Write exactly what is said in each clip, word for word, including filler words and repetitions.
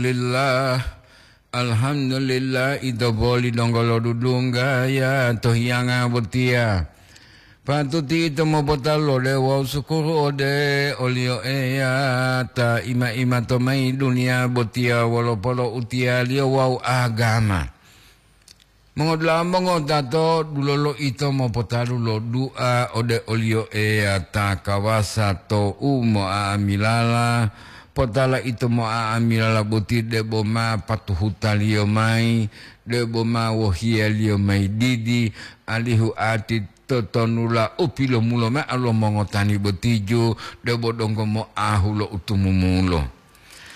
Alhamdulillah. Alhamdulillah, ito boli donggo lo dudungga ya to hiyanga botiya. Patuti ito mopotalu ode wawu sukuru ode o-Liyo Eya ta ima-ima to mayi duniya botiya wolo poloutiyaliyo wawu agama. Mongodula'a mongotato, dulolo ito mopotalu lo du'a ode o-Liyo Eya ta kawasa to u mo'a'amilala. Potala ito mo'a'amilala boti debo ma patuhuta-Liyo mayi, debo ma wohiya-Liyo mayi didi, alihu ati totonula u pilomulo mao lo mongotani botiju, debo donggo moahu lo utumumulo.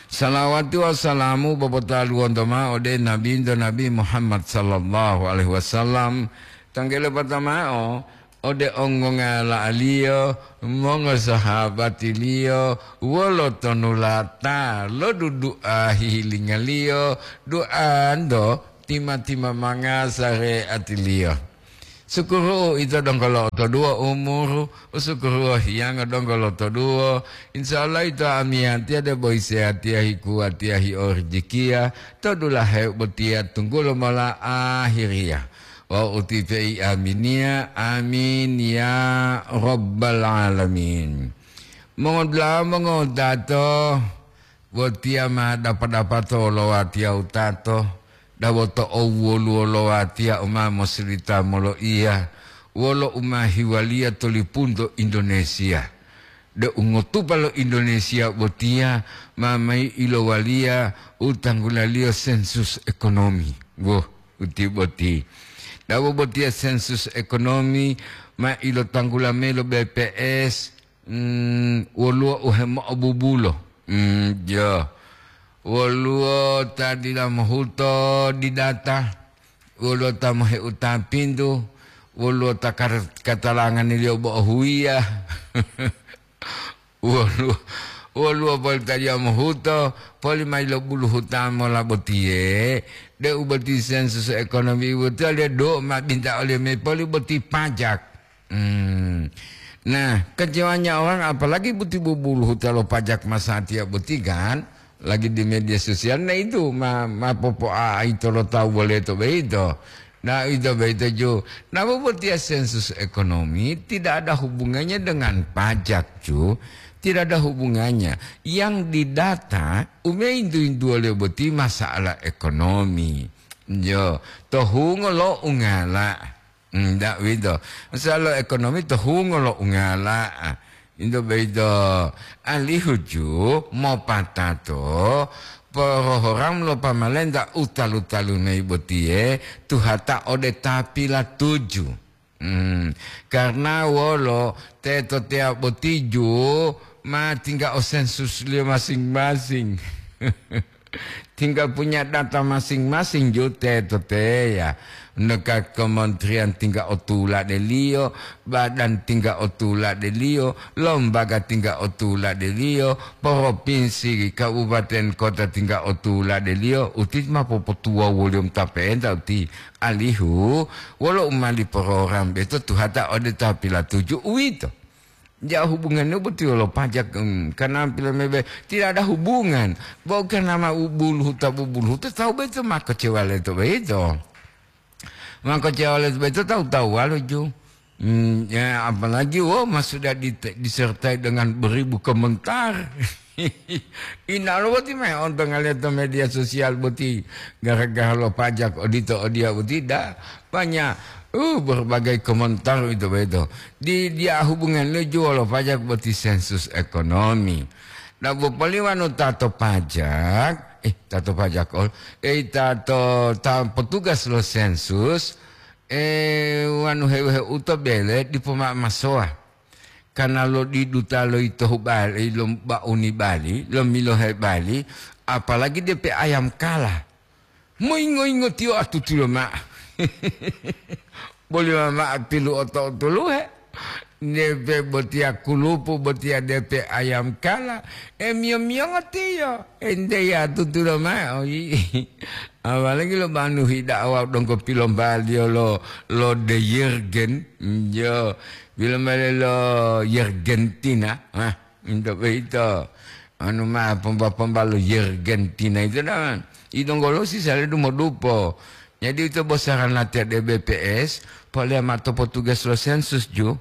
Salawati wawu salamu popotaluwonto mao ode Nabinto Nabi Muhammad sallallahu alaihi wasallam, tanggele patamao ode ongongala'aliyo, mongosahabatiliyo, wolo tonulata lo dudu'a hihilingaliyo, du'anto tima-timamanga sareatiliyo. Sukuru ito donggo lo'otoduwo umuru, usukuruwo hiyango donggo lotoduwo. Insya Allah ito amiyatiya debo hisehatiya hikuwatiya hiorijikiya to dulahe botiya tunggulo mola ahiriya. Wawu utipe'i aminiya, amin ya rabbal alamin. Mongodula'a mongotato, botiya ma dapa-dapato lo watiya wutato, dabo to owwoluwo lo watiya u ma mosilita moloiya wolo u ma hiwaliya to lipunto Indonesia. De u ngotupa lo Indonesia botiya ma mayi ilowaliya u tanggulaliyo sensus ekonomi. Woh, uti boti. Dabo botiya sensus ekonomi ma ilotanggula mayi lo B P S, Mm, woluwo u hemo'obubulo. Mm, jo. Woluwo ta dila mohuto didata, woluwo ta moheuta pintu, woluwo ta kar-, katalanganiliyo bo'o huwiya, woluwo, woluwo poli ta dila mohuto, poli mayi lo buluhuta mola botiye, de'u boti sensus ekonomi botiye, do ma binta oliyo me poli boti pajak. Hmm. Nah, kecewanya orang, apalagi boti bubuluhuta lo pajak masatiya boti kan, lagi di media sosial, nah itu ma, ma popo'aito lo tawu boleto boyito. Nah, ito boyito ju. Nah, bobotiya sensus ekonomi tidak ada hubungannya dengan pajak, ju. Tidak ada hubungannya. Yang didata, umeintu-intuwoliyo boti masalah ekonomi. Jo, to hungo lo ungala. Ndak uwito. Masalo ekonomi to hungo lo ungala. Into boyito alihu ju mopatato porohoramu lo pamalenta u talu-talu mayi botiye tuhata ode ta pilatuju. Hmm, karna wolo teto teya boti ju ma tingga o sensusliyo masing-masing. Tinggal punya data masing-masing ju teto teya. Neka kementerian tinggal o tuladeliyo, badan tinggal o tuladeliyo, lembaga tinggal o tuladeliyo, provinsi, kabupaten, kota tinggal o tuladeliyo, uti ma popotuwawuliyo mota pe'enta uti. Alihu, wolo u mali program beto tuhata ode ta pilatuju uwito. Ja hubungannya boti wolo pajak, em, karena pilemebe tidak ada hubungan. Bo karena ma u buluhuta, bubuluhuta tawu boyito ma kecewa leto boyito. Ma kecewa leto boyito tawu-tawuwalo ju. Hmm, ya, apalagi, wo, ma sudah di-, disertai dengan beribu komentar. Inalo boti me ontongaliyo to media sosial boti gara-gara lo pajak odito odiya boti da. Banyak, uh, berbagai komentar itu beto. Di, dia hubungan leju wolo pajak boti sensus ekonomi. Nah, bopoliwano tato pajak, eh, tato pajak ol, eh, tato, ta petugas lo sensus, eh, wanu heu-heu to bele dipo ma masowa. Karena lo diduta lo ito hubali, lo bauni bali, lo milohe bali, apalagi depe ayam kala. Moyingo-yingo tiyo atutulo ma'o. Boli mama'a pilu oto-otoluhe. Depe botiya kulupu, botiya depe ayam kala. E miyo-miyongo tiyo. Ente ya atutulo ma'o. Apalagi lo manuhi da'awa donggo pilombaliyo lo, lo de Yergen. Yo, pilombaliyo lo Yergentina. Hah, into boyito. Anu ma pomba-pomba lo Yergentina itu dah. Idonggolo sisa le dumodupo. Jadi itu bosaran latihan di B P S, polea ma to potugas lo sensus ju.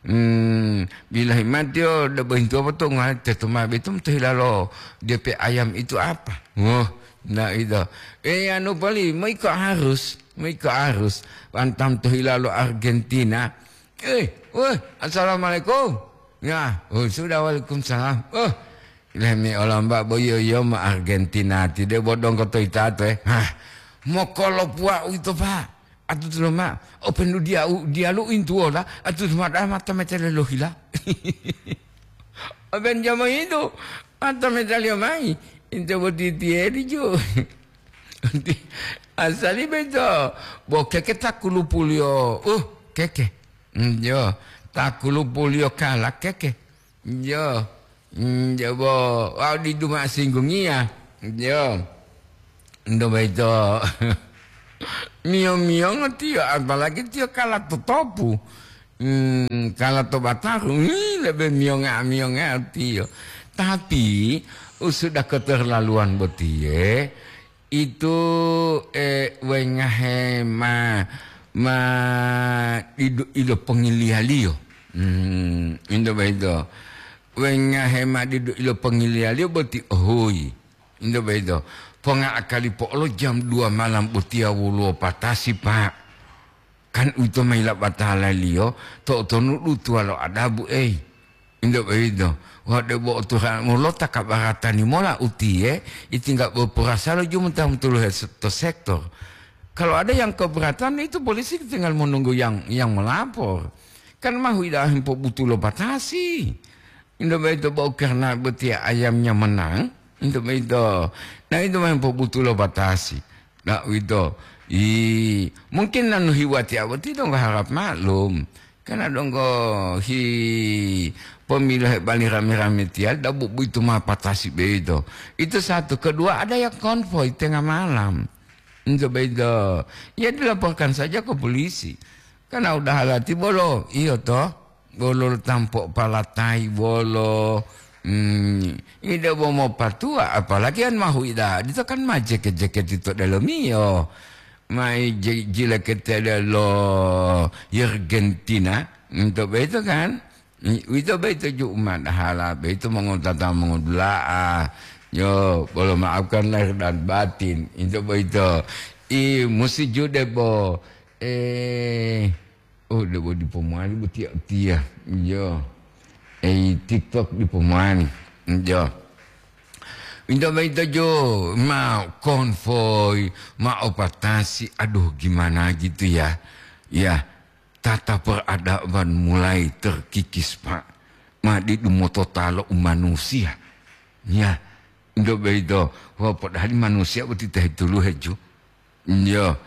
Hmm, bilahi mati yo, da bohintu apa to ngai teto ma betum to hilalo D P ayam itu apa? Wah, nah itu. Eh, anu pali, mau ikut arus, mau ikut arus. Antam to hilalo Argentina. Eh, wah, assalamualaikum. Ya, oh, sudah, waalaikumsalam. Oh, lemi olamba boyo yo ma Argentina ti de bodong ko to itato, eh. Hah, mokolo puwa uito, Pak. Atu tulo ma, open lu dia, dialu intuola, atu tulo ma da mata metele lohila. Open jamo itu, mata metele mai. Into boti tieri jo. Asali beto, bo keke takulupuliyo, uh, keke. Mm, yo, takulupuliyo kala keke. Yo, mm, yo, bo, wau didu ma singgungiya. Yo, ndo boyito. Miyo-miyongo tiyo, apalagi tiyo kala totopu. Mm, kala to bataru, ih, lebe miyonga-miyonga tiyo. Tapi, usuda keterlaluan botiye, itu, eh, wengahe ma, ma didu ilo pongiliyaliyo. Hmm, into boyito. Wengahe ma didu ilo pongiliyaliyo boti ohuyi. Into boyito. Ponga akali po'olo jam dua malam botiya woluwo patasi, Pak. Kan uwito ma yilapatalaliyo, to'otonu dutuwa lo adabu, ei. Into boyito, wa debo oturan molota kabaratani mola utiye, itingga bo porasalo jumenta motuluhe se-, to sektor. Kalau ada yang keberatan, itu polisi tinggal menunggu yang, yang melapor. Kan mahu ida hempo butuh lo batasi. Into boyito bo karena botiya ayamnya menang, into boyito. Nah, itu ma hempo butuh lo batasi. Nah, uwito. I, mungkin nanu hiwati awati dong harap maklum. Karena donggo hi pemilu he bali rame-rame tiya, dabu buitu ma patasi beito. Itu satu. Kedua, ada yang konvoi tengah malam. Itu beito. Ya, dilaporkan saja ke polisi. Karena udah halati bolo, iyo toh. Bolo tampo palatai bolo. Hmm, ida bo mopatua, apalagi an mahu ida. Dito kan ma jeket-jeket ito delomiyo. Mai je-, jileketele lo Yergentina, into boyito kan? I-, uwito boyito ju umadahala, boyito mongotata mongodula'a. Yo, bolo maafkan lahir dan batin, into boyito. I, musi ju debo, eh, oh, debo dipo mowali botiya utiya. Yo. Ei, TikTok dipo mowali. Yo. Into boyito jo, ma konvoi, ma opatasi, aduh gimana gitu ya. Ya, tata peradaban mulai terkikis, Pak. Ma didu mototalo u manusia. Ya, into boyito, wah, padahal manusia boti ta hetuluhe ju. Iyo,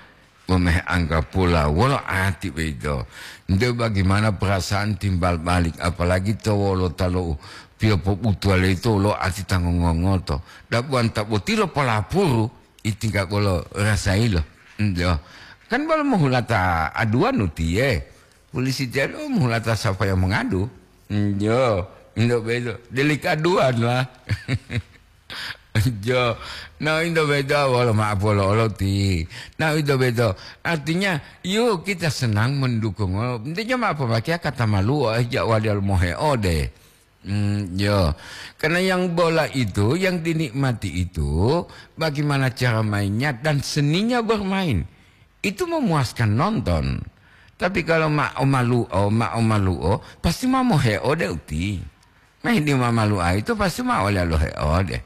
pomehe anggapola wolo ati boyito. Nte bagaimana perasaan timbal balik, apalagi to wolota lo u pilopobutuwa leyito wolo ati ta ngongongoto. Dabuwanta boti lopolapuru, itingga bolo rasayilo. Iyo. Kan bolo mohulata aduwanu tiye. Polisi tiye, oh, mohulata sapa yang mengadu. Iyo. Indo boyito. Delik aduan lah. Jo, nah, into boyito wolo ma'o polo'oloti. Nah, into boyito artinya, yuk kita senang mendukung. Intinya ma pomakeya kata maluo, eh, ja wali moheode. Hmm, yo. Karena yang bola itu, yang dinikmati itu, bagaimana cara mainnya dan seninya bermain. Itu memuaskan nonton. Tapi kalau ma'o maluo, ma'o maluo, pasti ma moheode uti. Mahi di mamalu'a ito pasti ma ole lohe ode.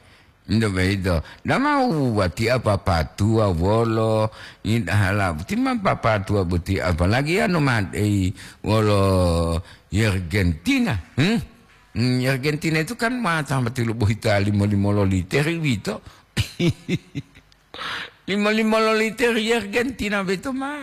Ndo boyito, dama watiya papatuwa wolo, idahala boti ma papatuwa boti, apalagi anu madei wolo Yergentina. Hmm? Hmm, Yergentina itu kan ma tambati lo bohita limo-limo lo liter uwito. Lima-lima lo liter Yergentina boyito ma.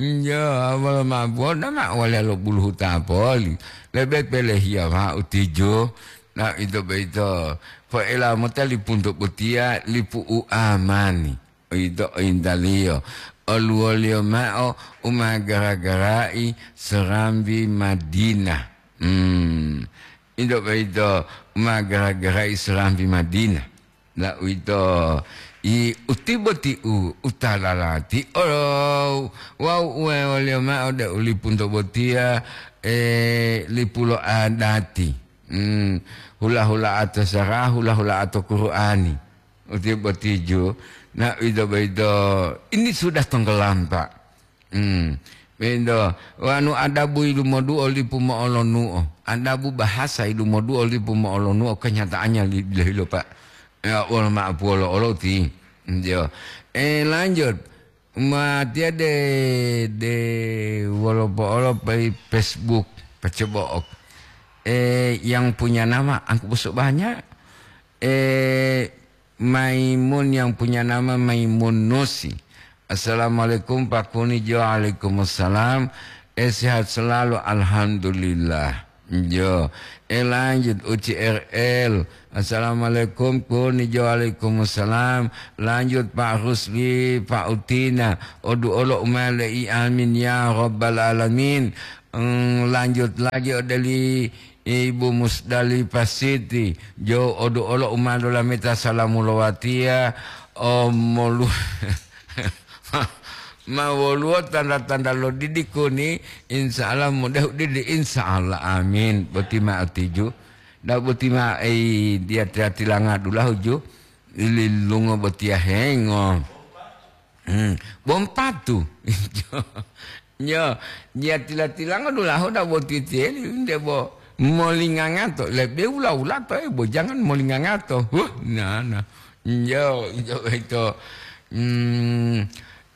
Iya, wolo ma buwona ma wale lo buluhuta poli. Lebe pelehiya ma'o tijo. Na ito boyito, po'ela mota lipunto botiya lipu u amani. Ito intaliyo. Oluwoliyo ma'o u ma gara-garai serambi Madinah. Hmm. Ito boyito ma gara-gara Islam di Madinah. La uwito, i uti boti u, u ta lalati olo wawu uwe woliyo ma'o de u lipunto botiya, e, lipu lo adati. Hmm, hula-hula'ato sara, hula-hula'ato Qur'ani. Uti botiju, na uwito boyito, ini sudah tenggelam, Pak. Hmm. Bento, wanu adabu yilumoduo lipu mo'olonuo, adabu bahasa yilumoduo lipu mo'olonuo, kenyataannya li-, dila hilo, Pak. Ya, wolo ma'apuwolo olo ti. Yo. Eh, lanjut. Matiya de, de wolo po'olo pai Facebook, pacobo'ok. Eh, yang punya nama angku bosok banyak. Eh, Maimun yang punya nama Maimun Nusi. "Assalamualaikum, Pak Kuni." Jo, waalaikumsalam. Eh, sehat selalu, alhamdulillah. Jo. Eh, lanjut, U C R L. "Assalamualaikum, Kuni." Jo, waalaikumsalam. Lanjut, Pak Rusli, Pak Utina. Odu olo umale i, amin ya rabbal alamin. Hmm, lanjut lagi ode li Ibu Musdalifah Siti, jo odu olo u ma lolameta salamu lo watiya, o molu-, ma, ma woluwo tanda-tanda lo didi kuni, insya Allah mudah didi, insya Allah, amin. Boti ma otiju, da boti ma ei dia tia tilanga dulahu ju, ililungo botiya hengo. Hmm, bompatu. Yo, dia tila-tilango dulahu da boti tiyeli, nde bo molingangato, lebe wula-wulato, eh, bo jangan molingangato. Huh, na, na. Yo, yo, itu. Hmm,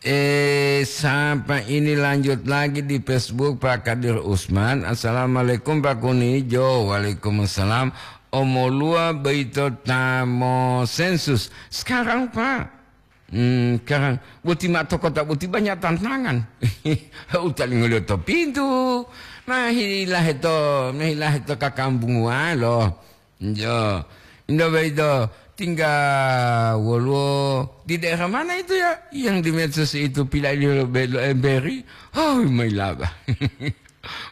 eh, sapa ini lanjut lagi di Facebook, Pak Kadir Usman. "Assalamualaikum, Pak Kuni." Jo, waalaikumsalam. Omoluwa boyito ta mosensus. Sekarang, Pak. Hmm, sekarang boti ma'o to kota boti banyak tantangan. Utalingoliyo to pintu, mahilahe to, mahilahe to kakambunguwalo. Jo, ndo boyito tingga woluwo di daerah mana itu ya, yang di medsos itu pilailiyo lo be-, lo emberi? Oh, mailaba.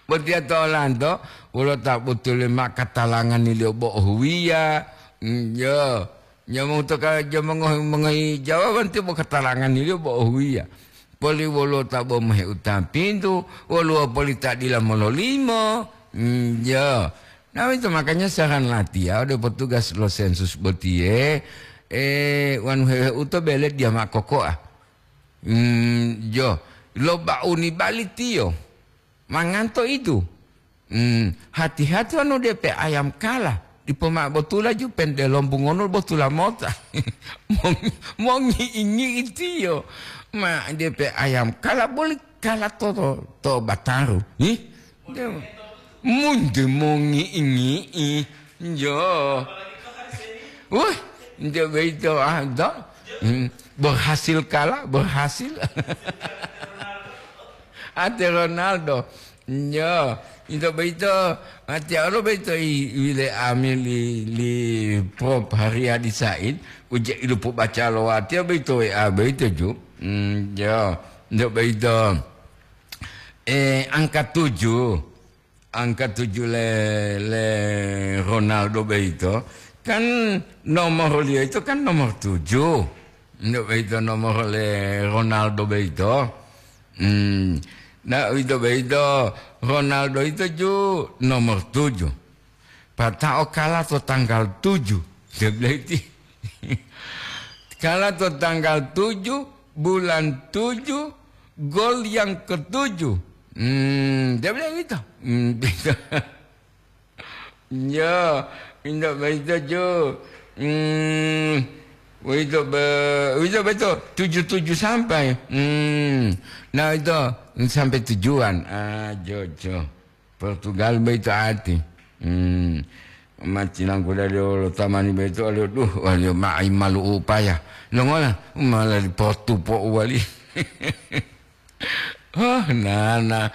Botiya to olanto, wolo ta botule ma katalanganiliyo bo ohuwiya. Hmm, jo. Nyamongu to ka-, jamongo mongohi jawaban tiyo bo katalanganiliyo bo ohuwiya. Poli woluwo ta bo mohe utapintu, woluwo poli ta dila mololimo. Mm, jo. Nah, itu makanya saran latiya ode petugas lo sensus botiye, eh, wanu hehe uto bele dia makokoa. Mm, jo. Lo bauni bali tiyo. Manganto itu. Hmm, hati-hati wanu depe ayam kala, dipo ma'o botula ju pente lombungono botula mota. Mongi-, mongi'i-ngi'i tiyo. Ma depe ayam kala boli kala to, to, to bataru. Ih, de-, munde mongi'i-ngi'i. Jo. Wah, nde boyito, ah, do. Hmm, berhasil kala, berhasil. Ate Ronaldo. Nyo, ito boyito, watiya olo boyito i, wile ami li, li Prof Haryadi Said, uje ilupu baca lo watiya boyito W A boyito ju. Mm, yo, ito boyito. Eh, angka tujuh. Angka tujuh le, le Ronaldo boyito. Kan nomor liyo itu kan nomor tujuh. Ito boyito nomor le Ronaldo boyito. Hmm. Nah, uwito boyito, Ronaldo yito ju nomor tujuh. Pata'o kala to tanggal tujuh. Dia bilang itu. Kala to tanggal tujuh, bulan tujuh, gol yang ketujuh. Hmm, dia bilang gitu. Hmm, gitu. Ya, indak boyito, Jo. Hmm, boyito be-, boyito beto, tujuh tujuh sampai. Hmm, nah, itu sampai tujuan. Ah, Jo, Jo. Portugal boyito ati. Hmm, matinangku dari olo tamani boyito, aduh, waliyo ma'i malu upaya. Longola, malah di Portu po wali. Oh, nana.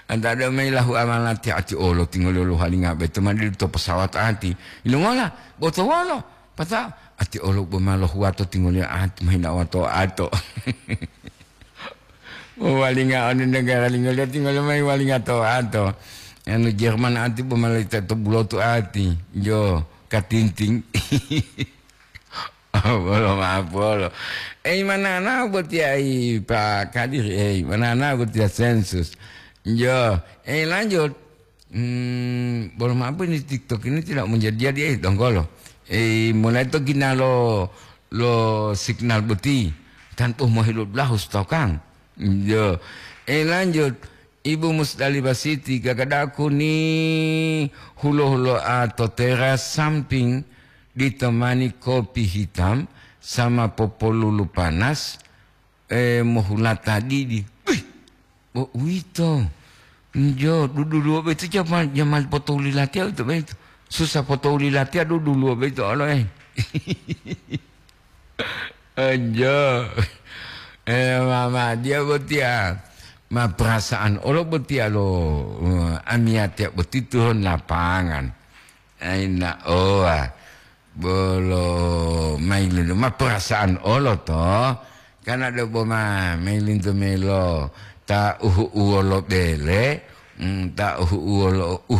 Anta ada mayi lahu amanati ati olo tingoliyo lohalinga beto madidu to pesawat ati. Ilongola, boto wolo. Pata ati olo bo ma lohuwato tingoliyo ati mahina wato ato. Walinga oni negara lingoliyo tingoliyo mayi walinga to ato. Anu Jerman ati bo malaita to bulotu ati. Jo, katinting. Bolo ma'apolo. Ei, manana boti ai Pak Kadir, ei, manana boti ai Sensus. Jo, ei, lanjut. Hmm, bolo ma'apo ini TikTok ini tidak menjadi-jadi, eh, donggolo. Eh, mulai to gina lo, lo signal boti. Tanpa mau hidup lahu stokan. Jo. Eh, lanjut. Ibu Musdalifah Siti, gagadaku ni hulo-huloa to teras samping ditemani kopi hitam sama popolulu panas, eh, mohulata didi. Wih, bo uwito. Njo, duduluwo boyito jamal, jamal potouli latiya uwito boyito. Susah potouli latiya duduluwo boyito olo, eh. Njo. Eh, mama, dia botiya ma perasaan olo botiya lo, eh, amiyatiya boti turun lapangan. Aina owa. Bolo mailuntu ma perasaan olo to. Karena do boma mailuntu melo ta uhu uwolo bele, mm, ta uhu uwolo uhu